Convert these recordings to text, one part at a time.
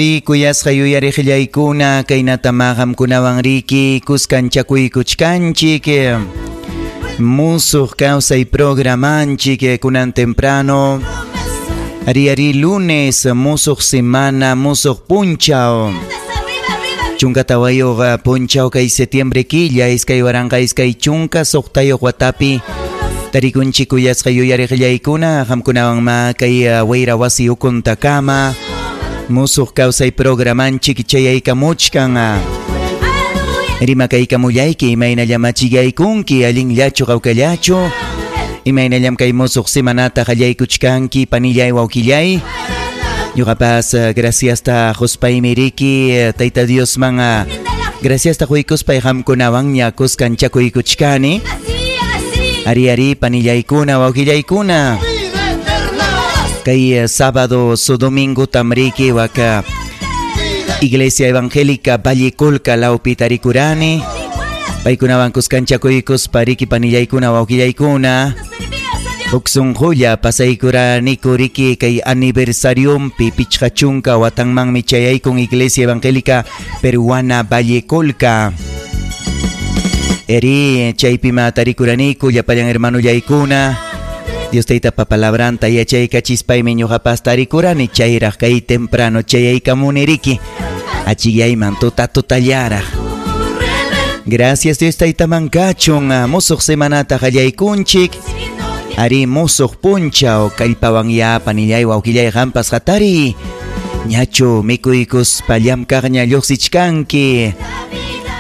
Kuyasqa yuyariqllaykuna kaynatama qamkunawan riki kuskanchakuykuchkanchik musuq kawsay programanchik kunan temprano ari ari lunes musuq semana musuq punchaw 14 punchaw kay septiembre killa 2026 watapi tarikunchik kuyasqa yuyariqllaykuna qamkunawan ma kay wayra wasi ukuntakama musuq kawsay programanchik chayaykamuchkan. Rimakaykamullayki imaynallam achiyaykunki allinllachu qawkallachu imaynallam kay musuq semanata qallaykuchkanki panillay wawqillay ñuqapas graciasta quspaymi riki Tayta Diosman graciasta quykuspay qamkunawanña kuskanchakuykuchkani ari ari panillaykuna wawqillaykuna kay sábado su domingo tamriki waka Iglesia Evangélica Valle Colca lawpi tarikurani paykunawan kuskanchakuykuspa riki panillaykuna wawqillaykuna huk sunqulla pasaykuraniku riki kay aniversariumpi 50 watanmanmi chayaykun Iglesia Evangélica Peruana Valle Colca eri chaypima tarikuraniku llapallan hermanullaykuna Dios taytapa palabranta yachaykachispaymi ñuqapas tarikurani chayraq kay temprano chayaykamuni riki achiyayman tuta tutallaraq. Gracias Dios taytaman kachun musuq semanata qallaykunchik ari musuq punchaw kallpawan ya panillay wawqillay qampas hatari ñachu mikuykuspa llamkaqña lluqsichkanki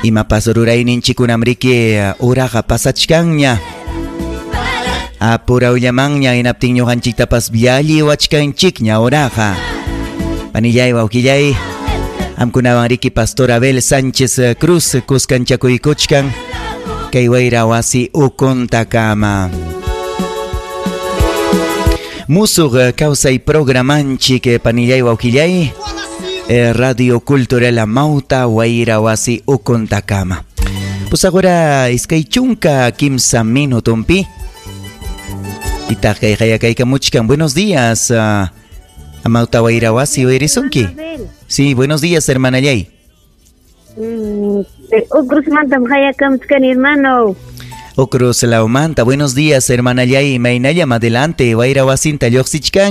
imapas rurayninchikunam riki uraqa pasachkanña apurawllamanña hinaptin ñuqanchiktapas llalliwachkanchikña uraqa panillay wawqillay qamkunawan riki Pastor Abel Sánchez Cruz kuskanchakuykuchkan kay wayra wasi ukuntakama musuq kawsay programanchik panillay wawqillay Radio Cultural Amauta wayra wasi ukuntakama pues ahora 23 minutumpi itaqkay qayakaykamuchkan. Buenos días, Amauta wayra wasi uyarisunki. Sí, buenos días, hermana Yay. Ucruzmantam qayakamuchkani, hermano. Ucruz Laumanta, buenos días, hermana Yay. Imaynallam adelante, wayra wasinta lluqsichkan.